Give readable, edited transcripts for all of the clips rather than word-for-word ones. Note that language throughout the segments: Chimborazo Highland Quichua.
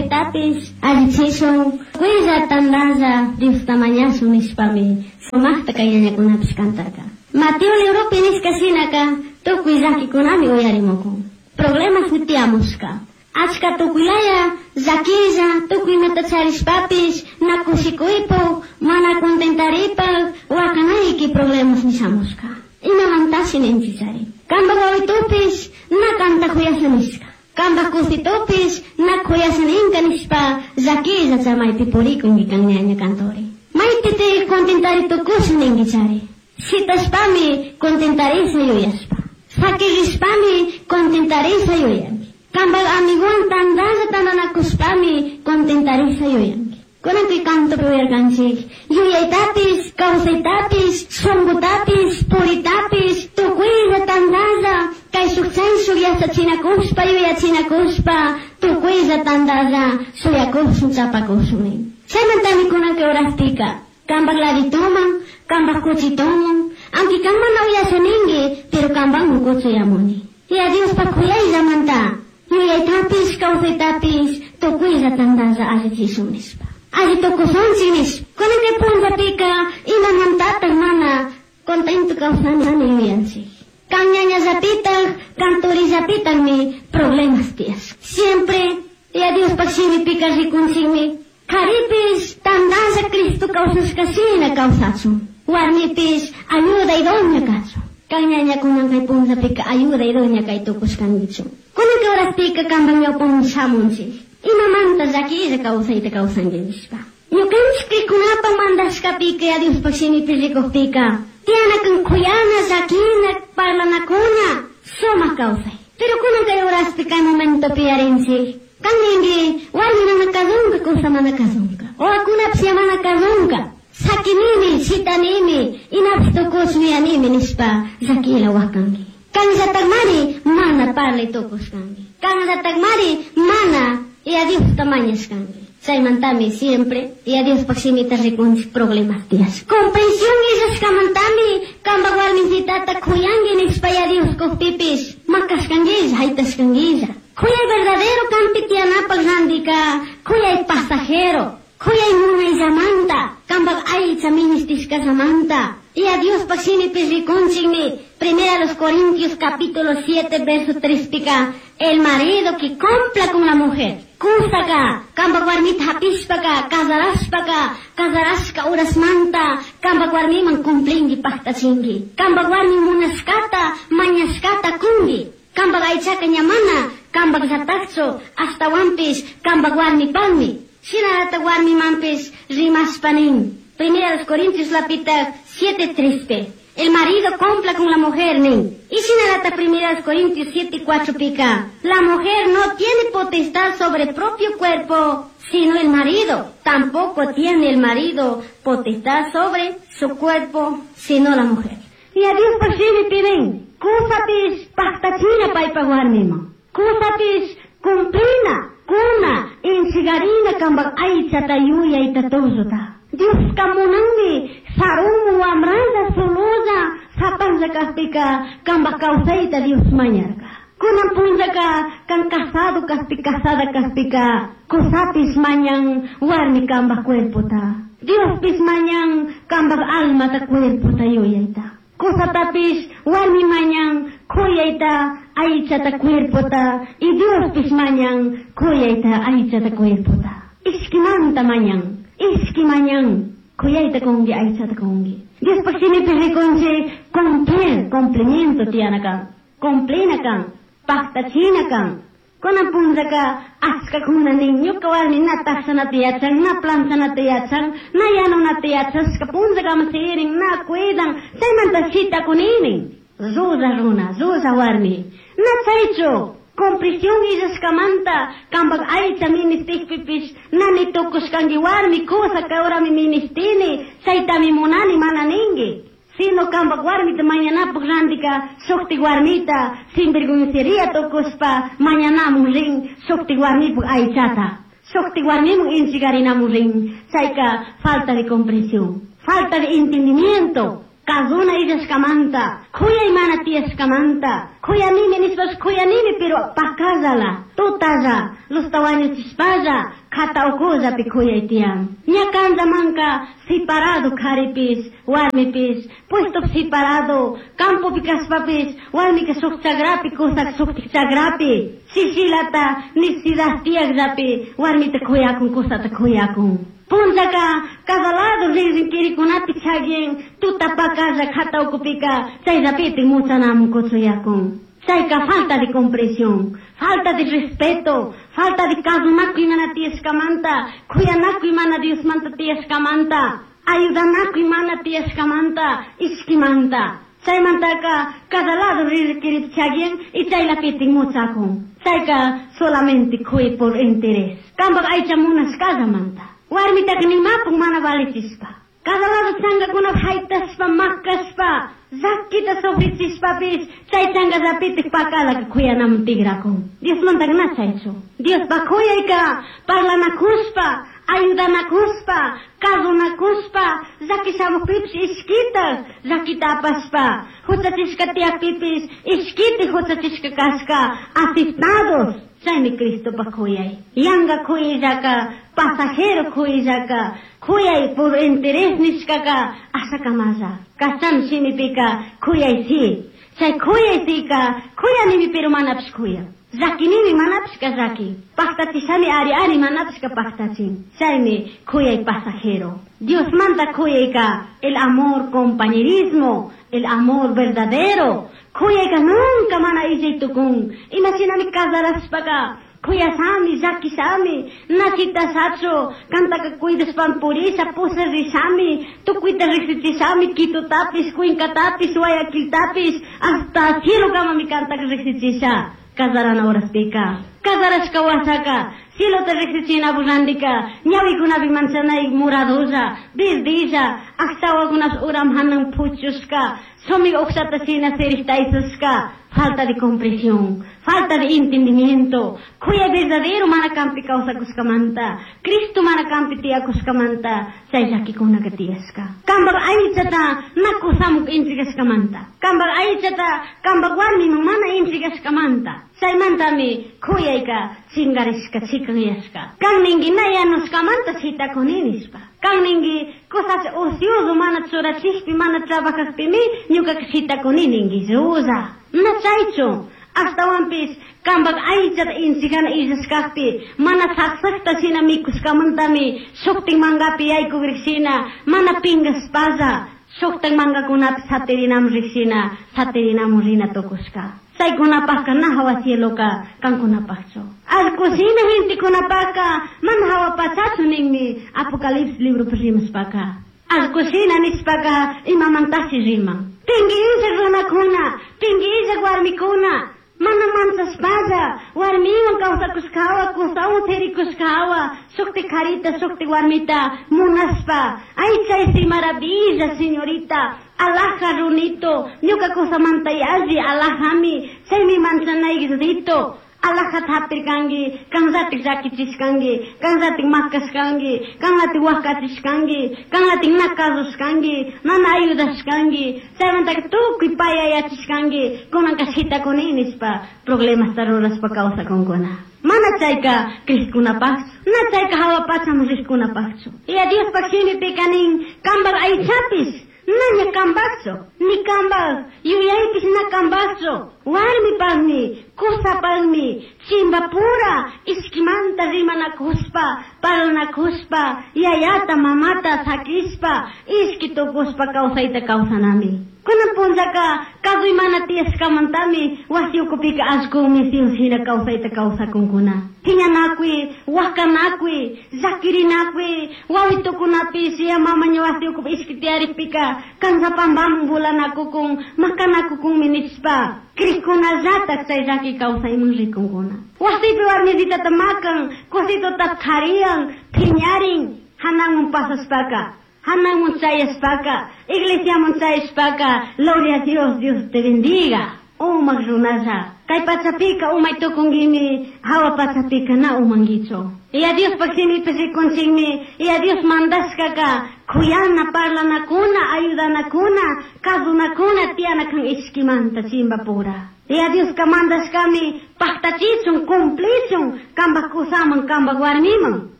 Kawsaytapish allichishun, tukuylla tantalla Diosta mañashun nishpami sumajta kay ñañakunapish cantarka. Mateo libropi nishka shinaka tukuy llakikunami uyarimukun. Problemasmi tiyamushka. Achka tukuylaya llaquilla, tukuy imata charishpapish na kushikuypuk, mana contentaripak, wakanayki problemas nishamushka. Imamantashi ninchichari. Kanpak wawitupish na kanta kuyasha nishka. Kanpak kusitupish na kuyasha ninka nishpa llaquilla chamaypi purikunki kan ñaña cantori. Maypiti contentari tukusha ninkichari. Shitashpami contentarisha yuyashpa. Sakirishpami contentarisha yuyanki. Kanpak amiguwan tantalla tantanakushpami contentarisha yuyanki. Kunan kay cantopi uyarkanchik. Yuyaytapish, kawsaytapish, shunqutapish, puritapish, tukuylla tantalla, kayshuk chayshuk yachachinakushpa, yuyachinakushpa, tukuylla tantalla, shuyakushun, chapakushun nin. Chaymantami kunan kay horaspika, kanpak ladituman, kanpak kuchituman, aunque kan mana uyasha ninki, pero kanpanmi kuchuyamuni. Ya Diospak kuyayllamanta, yuyaytapish, kawsaytapish, tukuylla tantalla allichishun nishpa. Alli tukushunchik nishpa. Kunan kay punllapika, imamantatak mana contento kawsani yuyanchik. Kan ñañallapitak, kan turillapitakmi problemas tiyashka. Siempre, ya Diospak shimipika rikunchikmi, karipish tantalla Cristo kawsashka shina kawsachun. Warmipish ayuda idónea kachun. Kan ñañakunan kay punllapika ayuda idónea kay tukushkankichu. Kunan kay horaspika kanpak ñawpaman shamunchik. Imamanta llaquilla kawsayta kawsanki nishpa. Ñukanchik crikunapa mandashkapika ya Diospak shimipi rikukpika, tiyanakan kuyana, llaquina, parlanakuna, sumak kawsay. Pero kunan kay horaspi kay momentopi yarinchik. Kan ninki, warmi mana kazunka, kusa mana kazunka. Wawakunapish ya mana kazunka. Sakinimi, shitanimi, imapish tukush yuyanimi nishpa llaquila wakanki. Kanllatakmari mana parlay tukushkanki. Kanllatakmari mana ya Diosta mañashkanki. Chaymantami siempre ya Diospak shimita rikunchik problemas tiyash. Comprensión illashkamantami kanpak warmincitata kuyanki nishpa ya Dios kukpipish makashkankilla, haytashkankilla. Kuyay verdadero kanpi tiyanapak randika, kuyay pasajero, kuyay munayllamanta, kanpak aycha ministishkallamanta. Ya Diospak shimipi rikunchikmi, Primera los Corintios capítulo 7 verso 3 pika, el marido que cumpla con la mujer. Kusaka, kanpak warmita hapishpaka, casarashpaka, casarashka urasmanta, kanpak warmiman cumplinki paktachinki. Kanpak warmi munashkata, mañashkata kunki. Kanpak aychaka ña mana, kanpak llatakchu, ashtawanpish, kanpak warmipakmi. Shinallata warmimanpish rimashpa nin. Primera los Corintios lapita 7 3 El marido cumpla con la mujer, nin. Y shinallata Primera los Corintios 7 4 pica. La mujer no tiene potestad sobre el propio cuerpo, sino el marido. Tampoco tiene el marido potestad sobre su cuerpo, sino la mujer. Y a Dios por sí me piden, kusapish paktachina paypa warmiman. Kusapish cumplina, kuna, inchigarina kanpak aychata yuyayta tulluta. Dioska munanmi sarumu wamralla sololla sapanlla kakpika kanpak kawsayta Dios mañarka. Kunan punllaka kan casado kakpi casada kakpika kusapish mañan warmi kanpak cuerpota. Diospish mañan kanpak almata cuerpota yuyayta. Kusatapish warmi mañan kuyayta aychata cuerpota y Diospish mañan kuyayta aychata cuerpota. Ishkimanta mañan. Ishki mañan, kuyayta kunki, aychata kunki. Diospak shimipi rikunchik, cumplir, cumplimiento tiyana kan, cumplina kan, paktachina kan. Kunan punllaka achkakuna nin, ñuka warmi na takshanata yachan, na planchanata yachan, na yanunata yachashka punllakama sirin, na cuidan, chaymanta shitakunini. Llulla runa, llulla warmi. Na chaychu, comprensión illashkamanta, kanpak aycha ministikpipish, nani tukushkanki warmi, kusa kawrami ministini, chaytami munani mana ninki. Sino kanpak warmita mañanapak randika, shuktik warmita, sinvergüencería tukushpa, mañanamun rin, shuktik warmipak aychata. Shuktik warmimun inchigarinamun rin, chayka falta de comprensión, falta de entendimiento. Kazuna illashkamanta, kuyay mana tiyashkamanta, kuyanimi nishpash kuyanimi pero pakallala, tutalla, lusta wañuchishpalla, kata ukullapi kuyay tiyan. Ña kanllamanka separado karipis, warmipis, puesto separado, campopi kashpapis, warmika shuk chakrapi, kusak shuktik chakrapi, shishilata necesidad tiyakllapi, warmita kuyakun, kusata kuyakun. Punllaka cada lado rinrin kirikunapi chagin, tuta pakalla kata ukupika, chayllapitik muchanamun kuchuyakun. Chayka falta de comprensión, falta de respeto, falta de kasunakuy mana tiyashkamanta, kuyanakuy mana Diosmanta tiyashkamanta, ayudanakuy mana tiyashkamanta, ishkimanta. Chaymantaka cada lado rinrin chagin y chaylapitik muchakun. Chayka solamente kuy por interés. Kampak aycha munashkallamanta. Warmitaka nimapuk mana valichispa. Cada lado chankakuna haytashpa, makashpa, llakita sufrichishpapis, chay chankallapitik pakalaka kuyanaman tikrakun. Diosmantaka na chaychu. Diospa kuyayka parlanakushpa, ayudanakushpa, kasunakushpa, llaki shamukpipish ishkita llakita apashpa, huchachishka tiyakpipis ishkiti huchachishka kashka, aceptados. Chaymi Cristopa kuyay. Yanka kuyayllaka, pasajero kuyayllaka, kuyay por interés nishkaka ashakamalla. Kachan shimipika kuyay si. Chay kuyay sika kuyanimi pero manapish kuyan. Llakinimi manapishka llakin. Paktachishami ari ari manapishka paktachin. Chaymi kuyay pasajero. Diosmanta kuyayka el amor compañerismo, el amor verdadero. Kuyayka nunca mana illay tukun. Imashinami casarashpaka kuyashami, llakishami, nachitashachu, kantaka cuidashpan purisha, pusarishami, tukuyta riksichishami, Quitotapis, Cuencatapis, Guayaquiltapis, hasta cielo kamami kantaka riksichisha. Casarana horaspika. Casarashka wasaka, cielota riksichina burrandika, ñawikunapi manchanay muradolla, verdilla, aksawakunash uram hanan puchushka, sumi uqshata shina siriqtaysushka. Falta de comprensión, falta de entendimiento, kuyay verdadero mana kampi kawsakushkamanta, Cristo mana kampi tiyakushkamanta, chay llakikunaka tiyashka. Kampak aychata na kusamuk entregashkamanta, kampak aychata kampak warmiman mana entregashkamanta, chaymantami kuyayka chinkarishka chikanyashka. Kan ninki na yanushkamanta shitakuni nishpa. Kan ninki cosas ocioso mana churachikpi mana trabajajpimi ñukaka shitakuni ninki llulla. Na chaychu, ashtawanpis kampak aychata inchikana illashkakpi mana saksakta shina mikushkamantami shuktik mankapi yaykukrik shina mana pinkashpalla shuktak mankakunapi satirinamun rikshina satirinamun rina tukushka. Chaykunapakka na hawa cieloka kankunapakchu. Allkushina gentekunapakka mana hawa pachachu ninmi Apocalipsis libropi rimashpaka. Allkushina nishpaka imamantashi riman. Pinki illak runakuna, pinki illak warmikuna, mana manchashpalla warmiwan kawsakushkawa, kusawan sirikushkawa, shukti karita, shukti warmita munashpa, ay chay si maravilla señorita, alhaja runito, ñuka kusamanta yalli alhajami, chaymi manchanayguito. Alhajata hapirkanki, kanllatik llakichishkanki, kanllatik makashkanki, kanllatik wakachishkanki, kanllatik na kasushkanki, mana ayudashkanki, chaymantaka tukuy payayachishkanki, kunanka shitakuni nishpa problemasta rurashpa kawsakunkuna. Mana chayka krishkunapaqchu, na chayka hawa pachaman rishkunapaqchu. Y a Diospaq shimipika nin, kampak aychapis naña kampaqchu, ni kampak yuyaypis na kampaqchu, warmipaqmi, kusapaqmi, chimbapura ishkimanta rimanakushpa, parlanakushpa, yayata mamata sakishpa, ishki tukushpa kawsayta kawsanami. Kunan punllaka kasuy mana tiyashkamantami wasi ukupika allqumi shina kawsayta kawsakunkuna. Phiñanakuy, wakanakuy, llakirinakuy, wawitukunapish ya mamaña wasi ukupi ishki tiyarikpika kanllapampaman vulanakukun, makanakukunmi nishpa krikunallatak chay llaki kawsayman rikunkuna. Wasipi warmisitata makan, kusituta qhariyan, phiñarin, hananman pasashpaka, hananman chayashpaka, iglesiaman chayashpaka, gloria a Dios, Dios te bendiga. Umak runalla, Kay pachapika umay tukunguimi, hawa pachapika na umanguichu. Yaya Diospaj shimipi rikunchikmi, Yaya Dios mandashkaka kuyana, parlanakuna, ayudanakuna, kazunakuna tiyana kan ishkimanta chimbapura. Yaya Dioska mandashkami pajtachichun, cumplichun, kambaj kusaman, kambaj warmiman.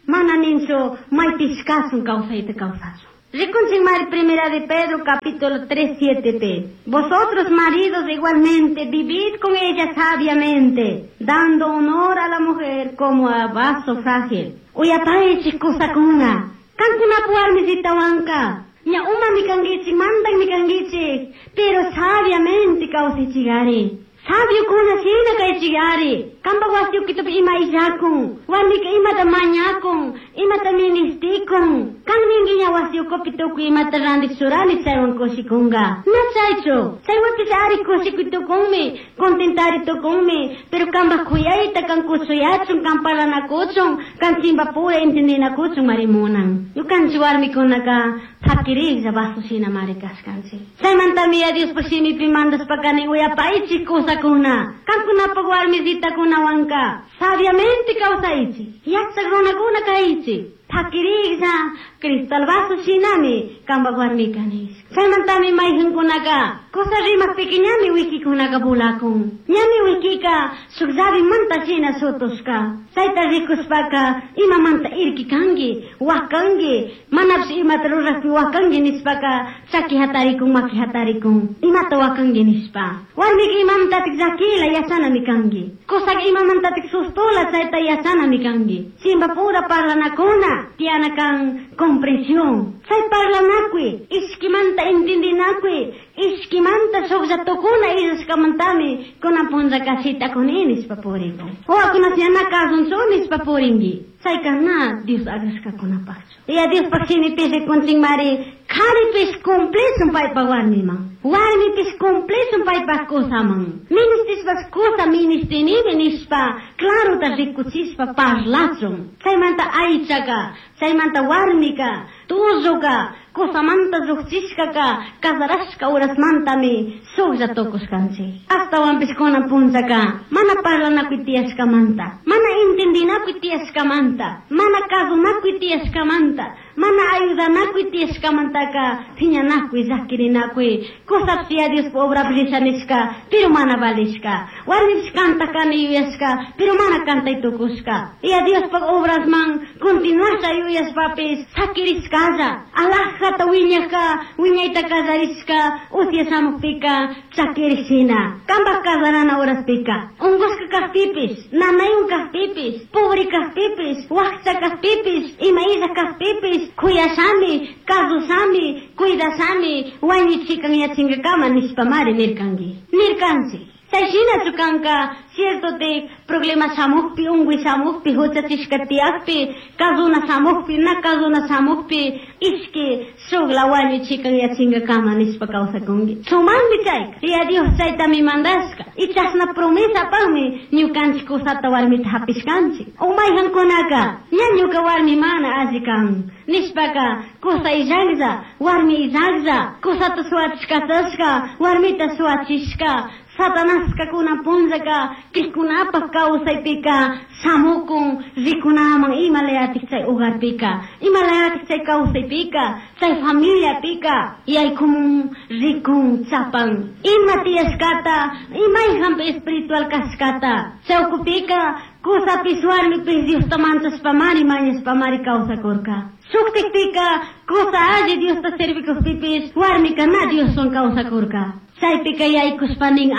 Mana ninchu maypish kasun kawsayta kawsashun. Rikunchik mari primera de Pedro capítulo 3, 7p. Vosotros maridos igualmente vivid con ella sabiamente, dando honor a la mujer como a vaso frágil. Uyapaychik kusakuna, kankunapa warmisitawanka, ña umami kanguichik, mandakmi kanguichik, pero sabiamente kawsaychikari. Sabiokuna shina kaychikari. Kampak wasi ukitupi ima illakun, warmika imata mañakun, imata ministikun. Kan ninki ña wasi ukupi tukuy imata randik churani chaywan kushikunka. Na chaychu, chaywanpish ari kushikuy tukunmi, contentari tukunmi, pero kampak kuyayta kan kushuyachun, kan parlanakuchun, kan chimbapura entendinakuchun mari munan. Ñukanchik warmikunaka pakiriklla vaso shina mari kashkanchik. Chaymantami Yaya Diospaj shimipi mandashpaka nin uyapaychik kusakuna, kankunapaj warmisitakunawanka sabiamente kawsaychik, yachak runakuna kaychik. Pakiriklla cristal vaso shinami kambaj warmika nishpa. Chaymantami mayjankunaka kusa rimakpika ñami wikikunaka vulakun. Ñami wikika shuk llavimanta shina shutushka. Chayta rikushpaka imamanta irki kanki, wakanki, manapish imata rurakpi wakanki nishpaka chaki hatarikun, maki hatarikun, imata wakanki nishpa. Warmika imamantatik llakila yachanami kanki. Kusaka imamantatik sustula chayta yachanami kanki. Chimbapura parlanakuna tiyana kan comprensión. Chay parlanakuy, ishkimanta entendinakuy, ishkimanta shuklla tukuna illashkamantami kunan punllaka shitakuni nishpa purikun. Wawakunata ña na kasunchu nishpa purinki. Chayka na Dios agrashkakunapakchu. Yaya Diospaj shimipi rikunchikmari, karipish cumplichun paypaj warmiman, warmipish cumplichun paypaj kusaman. Ministishpash kusa ministinimi nishpa clarota rikuchishpa parlachun. Chaymanta aychaka, chaymanta warmika, tulluka, kusamanta llukchishkaka, casarashka urasmantami shuklla tukushkanchik. Ashtawanpish kunan punllaka mana parlanakuy tiyashkamanta, mana entendinakuy tiyashkamanta, mana kasunakuy tiyashkamanta, mana ayudanakuy tiyashkamantaka phiñanakuy, llakirinakuy, kusapish Yaya Diospaj obrapi risha nishka, pero mana valishka. Warmipish kantakani yuyashka, pero mana kantay tukushka. Yaya Diospaj obrasman continuasha yuyashpapish sakirishkalla, alajata wiñajka, wiñayta kallarishka, usya shamukpika chakirishina. Kambaj kasarana uraspika, unkushka kajpipish, nanaywan kajpipish, pobre kajpipish, wakcha kajpipish, ima illa kajpipish, kuyashami, kasushami, cuidashami, wañuchikan yachinkakama nishpamari nirkanki. Nirkanchik. Chay shinachu kanka, cierto te problema shamukpi, unkuy shamukpi, huchachishka tiyakpi, kasuna shamukpi, na kasuna shamukpi, ishki shukla wañuchikan yachinkakama nishpa kawsakunki. Sumakmi chayka. Yaya Dios chaytami mandashka. Y chashna promesapakmi ñukanchik kusata warmita hapishkanchik. O mayjankunaka, ña ñuka warmi mana alli kan nishpaka, kusa illaklla, warmi illaklla, kusata suwachishkatashka, warmita suwachishka, Satanaska kunan punllaka krikkunapaj kawsaypika shamukun rikunaman ima layatik chay hogarpika, ima layatik chay kawsaypika, chay familiapika, yaykumun rikun chapan. Ima tiyashkata, imayjanpi espiritual kashkata, chawkupika kusapish warmipish Diosta manchashpamari mañashpamari kawsakurka. Shuktikpika kusa alli Diosta servikukpipish warmika na Dioswan kawsakurka. Chaypika yaykushpa nin,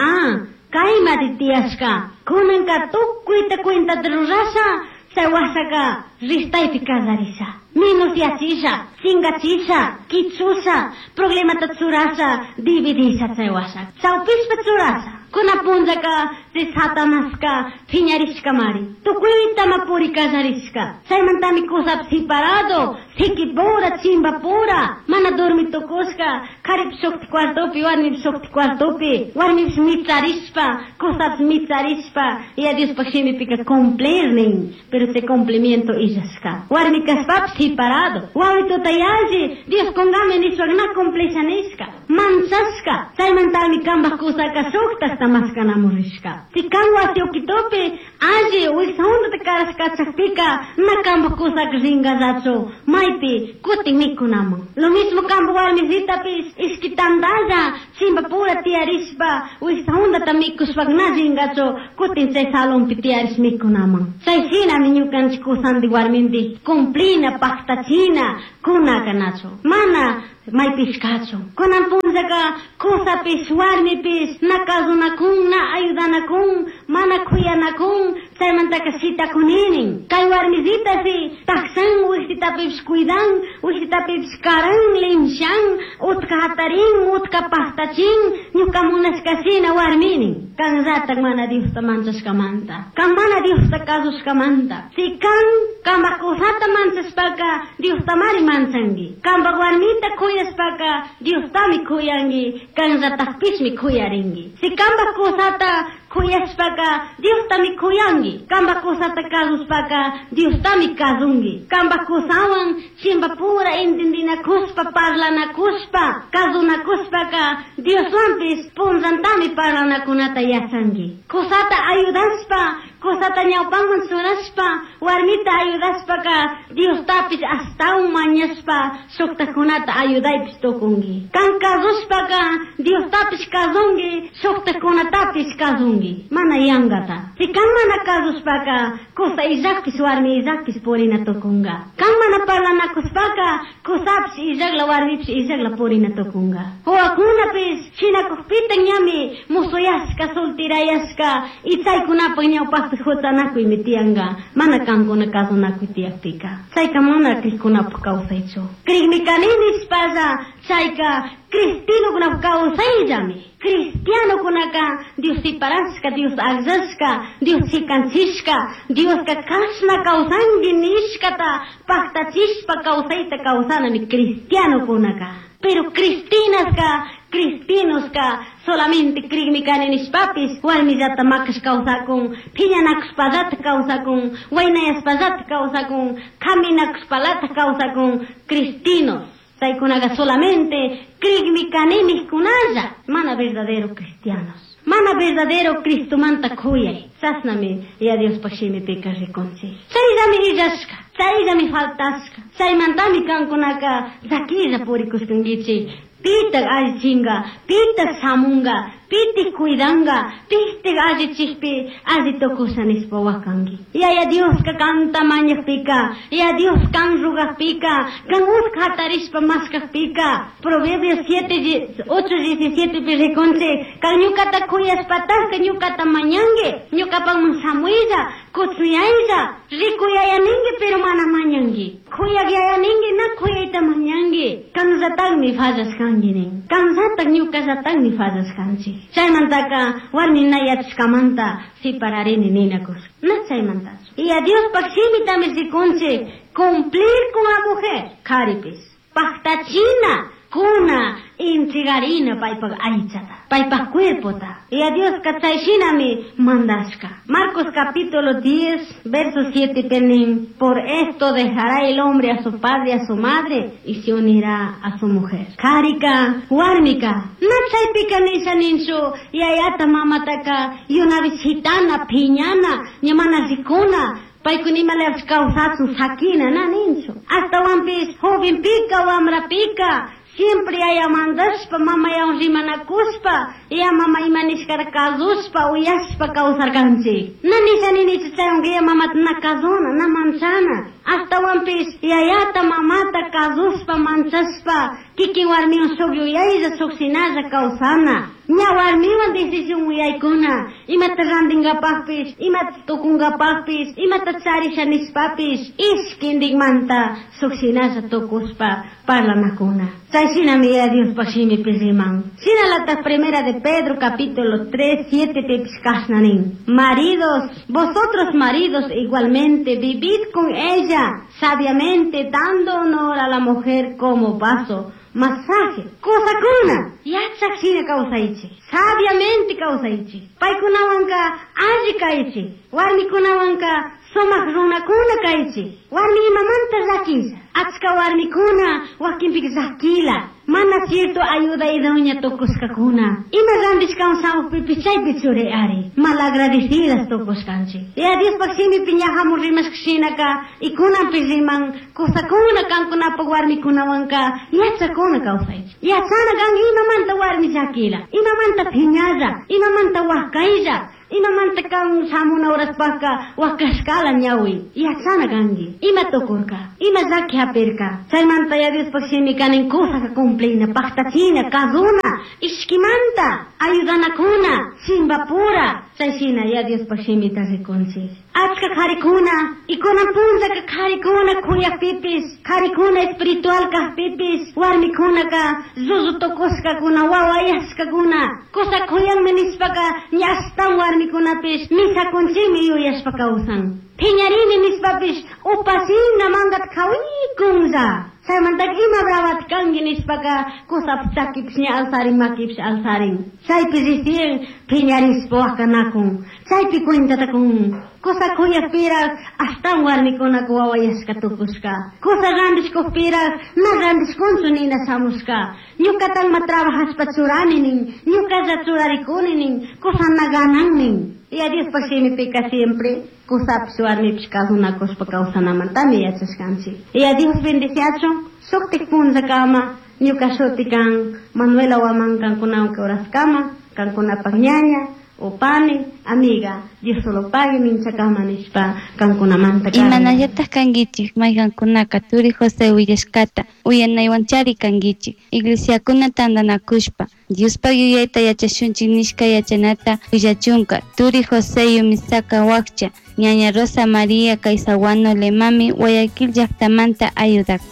kaymari tiyashka, kunanka tukuyta cuentata rurasha, chay wasaka ristaypi kallarisha, minusyachisha, chingachisha, kichusha, problemata churasha, dividisha chay wasaka, chawpishpa churasha. Kuna punllaka chay Satanaska phiñarishkamari, tukuytama puri kallarishka. Chaymantami kusapi separado, sikipura, chimbapura, mana dormi tukushka, karipish shukti cuartopi, warmipish shukti cuartopi, warmipish micharishpa, kusapish micharishpa, Yaya Diospaj shimipika cumplir nin, pero chay cumplimiento illashka. Warmi kashpapish separado, wawituta yalli, Dios kungami nishpa na cumplisha nishka, manchashka. Chaymantami kambaj kusaka shuktaj tandata maskanamun rishka. Si kan wasi ukitupi alli wiksa hundata karashkachakpika na kampak kusaka ringallachu maypi kutin mikunamun. Lo mismo kampak warmisitapish ishki tandalla chimpapura tiyarishpa wiksa hundata mikushpaka na ringachu kutin chay salonpi tiyarish mikunaman. Chay shinami ñukanchik kusantik warmintik cumplina paktachina kunaka nachu. Mana maypish kachun. Kunan punllaka kusapish warmipish na kasunakun, na ayudanakun, mana kuyanakun, chaymantaka shitakuninin. Kay warmisitasi taksan wiksitapish cuidan, wiksitapish karan, limshan, utka hatarin, utka paktachin, ñuka munashkashina warminin. Kanllatak mana Diosta manchashkamanta, kan mana Diosta kasushkamanta. Si kan kampak kusata manchashpaka Diostamari manchanki. Kampak warmita kuyashpaka Diostami kuyanki, kanllatakpishmi kuyarinki. Si kampak kusata kuyashpaka Diostami kuyanki, kampak kusata kasushpaka Diostami kasunki. Kampak kusawan chimpapura entendinakushpa, parlanakushpa, kasunakushpaka Dioswanpish punllantami parlanakunata yachanki. Kusata ayudashpa, kusata ñawpanman churashpa, warmita ayudashpaka Diostapish ashtawan mañashpa shuktakunata ayudaypish tukunki. Kan kasushpaka Diostapish kasunki, shuktakunatapish kasunki. Mana yankata. Si kan mana kasushpaka kusa illakpish warmi illakpish purina tukunka. Kan mana parlanakushpaka kusapish illakla warmipish illakla purina tukunka. Wawakunapish shinakukpita ñami musuyashka, soltirayashka, y chaykunapak ñawpakpi huchanakuymi tiyanka, mana kankuna kasunakuy tiyakpika. Chayka mana krikkunapak kawsaychu. Krikmi kani nishpalla chayka cristianokunapak kawsayllami. Cristianokunaka Dios separashka, Dios akllashka, Dios chikanchishka, Dioska kashna kawsanki nishkata paktachishpa kawsayta kawsanami cristianokunaka. Pero cristinaska, cristinoska solamente krikmi kani nishpapis warmillata makash kawsakun, phiñanakushpallata kawsakun, waynayashpallata kawsakun, kaminakushpallata kawsakun, cristinos. Chaykunaka solamente krikmi kani nijkunalla, mana verdadero cristianos. Mana verdadero Cristomanta kuyay. Chashnami ya Diospaj shimipika rikunchik. Chayllami illashka, chayllami faltashka, chaymantami kankunaka llakilla purikushkankichik. Pitak allichinka, pitak shamunka, pitik cuidanka, pitik allichikpi alli tukusha nishpa wakanki. Yaya Dioska kanta mañakpika, ya Dios kan rugakpika, kan utka hatarishpa maskakpika. Proverbios 7, 8, 17 pi rikunchik, kan ñukata kuyashpataka ñukata mañanki, ñukapakman shamuylla, kutsuyaylla, rikuyayaninki pero mana mañanki. Kuyak yayaninki na kuyayta mañanki. Kanllatakmi fallashkanki nin. Kanllatak ñukallatakmi fallashkanchik. Chaymantaka warmi na yachashkamanta separarini ninakushka. Na chaymantachu. Y a Diospaj shimitami rikunchik cumplir con la mujer. Karipis. Paktachina kuna entregarina paypak aychata, paypak cuerpota. Y a Dioska chay shinami mandashka. Marcos capítulo 10, verso 7 penin. Por esto dejará el hombre a su padre y a su madre y se unirá a su mujer. Karika, warmika, na chaypika nisha ninchu, yayata mamataka, yunavis hitana, piñana, ñamana rikuna, paykunimalapish kawsachun sakina, na ninchu. Ashtawanpish jovenpika, wamrapika, siempre yaya mandashpa, mamayawan rimanakushpa, ya mama ima nishkata kasushpa, uyashpa kawsarkanchik. Na nisha ninichu chaywanka ya mamata na kasuna, na manchana. Ashtawanpish yayata mamata kasushpa, manchashpa, kikin warmiwan shuk yuyaylla, shuk shinalla kawsana. Ña warmiwan decisión uyaykuna, imata rantinkapakpish, imata tukunkapakpish, imata charisha nishpapish, ishkintikmanta shuk shinalla tukushpa parlanakuna. Chay shinami ya Diospaj shimipi riman. Shinalatak primera de Pedro capítulo 3, 7 pipish kashna nin. Maridos, vosotros maridos igualmente vivid con ella sabiamente, dando honor a la mujer como vaso masaje. Kusakuna, yachak shina kawsaychik, sabiamente kawsaychik. Paykunawanka alli kaychik, warmikunawanka sumak runakuna kaychik. Warmi imamanta llakilla, achka warmikuna wakinpika llakila. Mana cierto ayuda idónea tukushkakuna. Ima randishkawan shamukpipish chaypi churi ari. Malagradecidas tukushkanchik. Yaya Diospaj shimipi ña hamun rimashka shinaka y kunanpish riman kusakuna kankunapaj warmikunawanka yachakuna kawsaychik. Yachana kan imamanta warmi llakila, imamanta phiñalla, imamanta wakaylla, imamanta kan shamuna horaspajka wakashkala ñawi. Yachana kanki. Ima tukurka, ima llaki hapirka. Chaymanta Yaya Diospaj shimika nin kusaka cumplina, paktachina, kazuna, ishkimanta, ayudanakuna, chimbapura. Chay shina Yaya Diospaj shimita rikunchik. Achka karikuna, y kunan punllaka karikuna kuyakpipis, karikuna espiritual kajpipis, warmikunaka llullu tukushkakuna, wawayashkakuna, kusa kuyanmi nishpaka ña ashtawan warmikunapish misakunchikmi yuyashpa kawsan. Phiñarini nishpapish upashina mangata kawikunlla. Chaymantaka ima bravata kanki nishpaka kusapish chakipish ña alzarin, makipish alzarin. Chaypi recién phiñarishpa wakanakun. Chaypi cuentata kun. Kusa kuyakpiraj ashtawan warmikunaka wawayashka tukushka. Kusa randishkukpiraj na randishkunchu nina shamushka. Ñukatanma trabajashpa churani nin, ñukalla churarikuni nin, kusa na ganan nin. Yaya Diospaj shimipika siempre kusapish warmipish kasunakushpa kawsanamantami yachashkanchik. Yaya Dios bendiciachun shuktik punllakama ñuka shuti kan Manuela Guamán kankunawan kawraskama, kankunapak ñaña o pani, amiga, Dios solo pague minchakama nishpa kankunamanta karani. Imanallataj kankichik mayqankunaka turi José willashkata uyanaywanchari kankichik. Iglesiakuna tantanakushpa Diospaj yuyayta yachashunchik nishka yachanata willachunka turi José Yumisaka Wakcha, ñaña Rosa María Caizaguano Lemami, Guayaquil llaktamanta ayudak.